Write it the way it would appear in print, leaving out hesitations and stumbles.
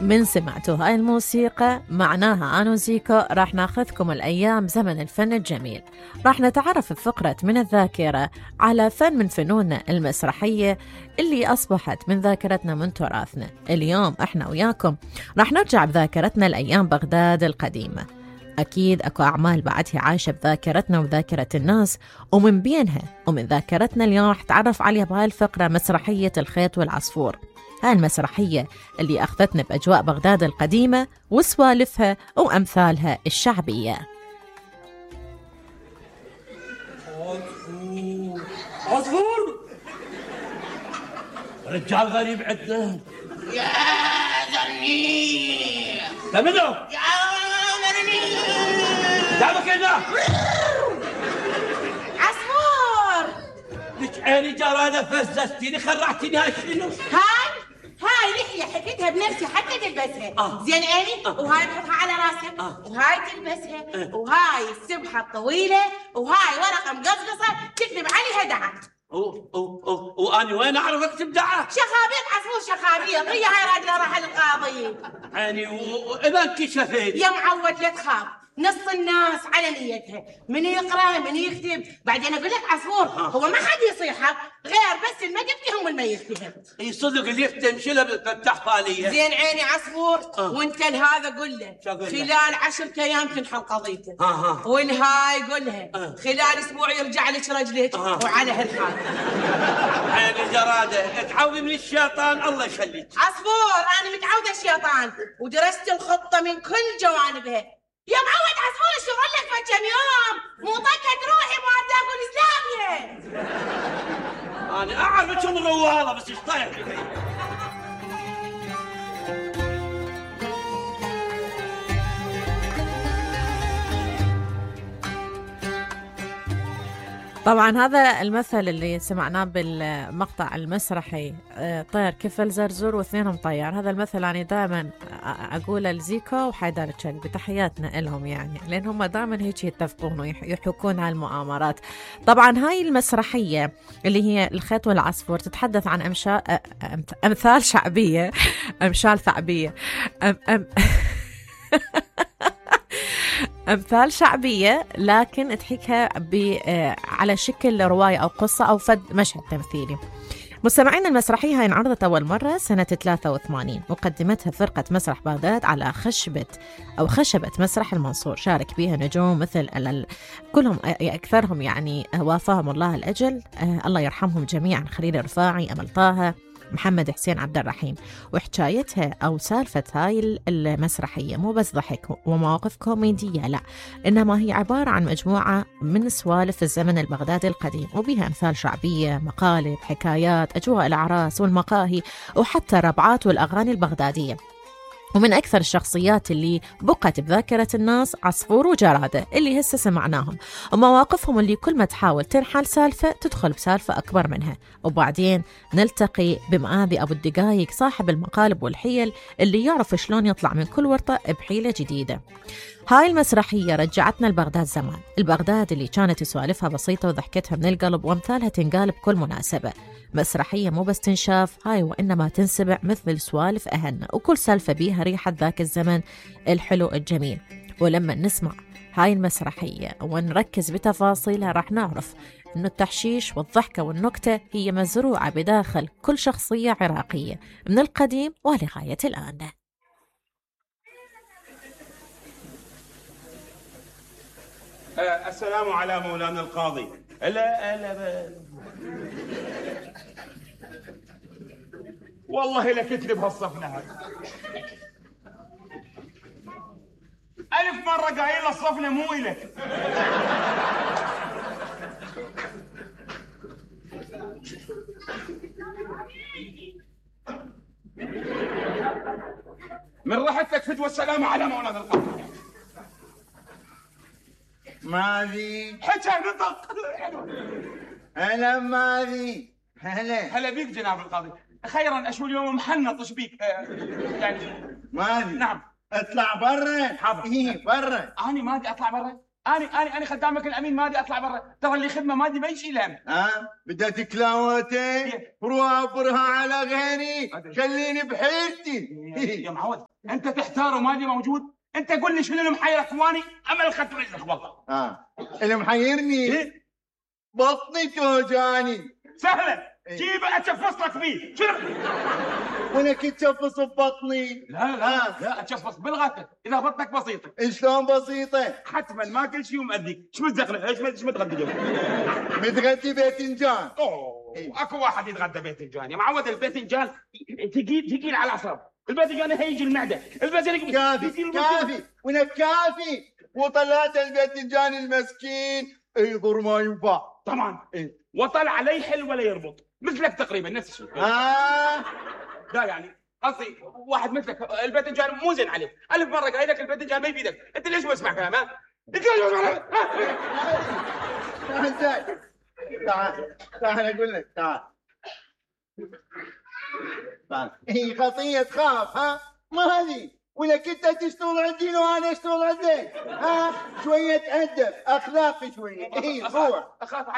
من سمعتوا هاي الموسيقى معناها أنا وزيكو راح ناخذكم الأيام زمن الفن الجميل. راح نتعرف بفقرة من الذاكرة على فن من فنوننا المسرحية اللي أصبحت من ذاكرتنا من تراثنا. اليوم احنا وياكم راح نرجع بذاكرتنا لأيام بغداد القديمة. أكيد أكو أعمال بعدها عايشة بذاكرتنا وذاكرة الناس، ومن بينها ومن ذاكرتنا اليوم راح نتعرف عليها بهاي الفقرة مسرحية الخيط والعصفور. هاي المسرحية اللي أخذتنا بأجواء بغداد القديمة وسوالفها وأمثالها الشعبية. عصفور رجال غريب عندنا. يا ذني تمنو يا ذني دعمك هنا عصفور. لك عيني جرانة فززتيني خرعتيني. هاي شنو؟ هاي لحية حكيتها بنفسي حتى تلبسها. زين عيني. وهاي تحطها على راسك. وهاي تلبسها. وهاي السبحة الطويلة. وهاي ورقة مقصقصة تكتب عليها دعك. وأنا وين أعرف أكتب دعك؟ شخابيط عصفور شخابيط. هي هاي راجلة راح للقاضي. يعني وإذا انكشفت يا معود لا تخاف، نص الناس على نيتها، من يقرأ من يكتب. بعدين أقول لك عصفور هو ما حد يصيحك غير بس الما تفتهم والما يفتهم. اي صدق اللي يفتهم شيله بالفتح باليه. زين عيني عصفور. وانت لهذا قل له خلال 10 أيام تنحل قضيته. والهاي قلها خلال اسبوع يرجع لك رجلك. وعلى هالحال عين الجراده تعوذي من الشيطان الله يخليك. عصفور انا متعوده الشيطان ودرست الخطه من كل جوانبها. يا معود عصفور الشغل لك في كم يوم مو طقت روحي ما تاكل اسلاميه. انا اعرف شو مغواله بس ايش طايح فيك. طبعا هذا المثل اللي سمعناه بالمقطع المسرحي طير كفل زرزور واثنينهم طيار. هذا المثل أنا دائما أقوله لزيكو وحيدر الشلبي، تحياتنا لهم يعني، لأن هم دائما هيك يتفقون ويحكون على المؤامرات. طبعا هاي المسرحية اللي هي الخيط والعصفور تتحدث عن أمثال شعبية أمثال ثعبية أمثال شعبية، لكن تحكيها على شكل رواية أو قصة أو فد مشهد تمثيلي. مستمعين المسرحية هاي انعرضت أول مرة سنة 83 وقدمتها فرقة مسرح بغداد على خشبة مسرح المنصور. شارك بها نجوم مثل كلهم أكثرهم يعني وافاهم الله الأجل، الله يرحمهم جميعا، خليل رفاعي، أمل طه، محمد حسين عبد الرحيم. وحكايتها أو سالفة هاي المسرحية مو بس ضحك ومواقف كوميدية، لا، إنما هي عبارة عن مجموعة من سوالف الزمن البغدادي القديم، وبها أمثال شعبية، مقالب، حكايات، أجواء الأعراس والمقاهي، وحتى ربعات والأغاني البغدادية. ومن أكثر الشخصيات اللي بقت بذاكرة الناس عصفور وجرادة اللي هسه سمعناهم، ومواقفهم اللي كل ما تحاول تنحل سالفة تدخل بسالفة أكبر منها. وبعدين نلتقي بمآذي أبو الدقايق صاحب المقالب والحيل اللي يعرف شلون يطلع من كل ورطة بحيلة جديدة. هاي المسرحية رجعتنا لبغداد زمان، البغداد اللي كانت سوالفها بسيطة وضحكتها من القلب وأمثالها تنقال بكل مناسبة. مسرحية مو بس تنشاف هاي، وإنما تنسبع مثل سوالف أهلنا، وكل سالفة بيها ريحة ذاك الزمن الحلو الجميل. ولما نسمع هاي المسرحية ونركز بتفاصيلها راح نعرف إنه التحشيش والضحكة والنكتة هي مزروعة بداخل كل شخصية عراقية من القديم ولغاية الآن. السلام على مولانا القاضي. لا والله لكتلي بهالصفنة هاي. 1000 مرة قايل الصفنة مو إلك. من راحتك فدوى السلام على مولانا القاضي. ماذي حكى نطق. هلا ماذي. هلا بيك جناب القاضي. خيرا اشو اليوم محنط ايش بيك؟ يعني ماذي. نعم اطلع برا. حاضر. ايه برا. اني مادي اطلع برا. اني خدامك الامين مادي اطلع برا. ترى اللي خدمه مادي ما يشيل هم. بدأت كلاوتي روح ابرها على غيري خليني بحيرتي. يا معود انت تحتار ومالي موجود. انت قول لي شنو اللي محيرك واني امل اخذت رزقك والله. اللي محيرني إيه؟ بطني توجعني. سهله، إيه. جيبه اتشفص لك فيه. شنو؟ وانا كنت شفص ببطني. لا اتشفص بالغتة اذا بطنك بسيطه. شلون بسيطه؟ حتما ما كل شيء ومأذيك. شو متزخلف؟ ايش متغدى اليوم؟ متغدي باذنجان. اكو واحد يتغدى باذنجان يا معود. الباذنجان ثقيل على الاعصاب. الباذنجان هيجي المعده. الباذنجان كافي وانا كافي. وطلعت الباذنجان المسكين يضر ما ينفع. طبعا وطلع لا يحل ولا يربط مثلك تقريبا نفس الشيء. لا يعني قصدي واحد مثلك الباذنجان مو زين عليك. الف مره قايل لك الباذنجان ما يفيدك. انت ليش ما تسمع كلام؟ انت ليش ما تسمع كلام؟ تعال اقول لك. تعال هي خطيه تخاف ما هذه ولا كنت تشتغل عندي وانا اشتغل عندك. شويه ادب اخلاقي شويه. روح. اخاف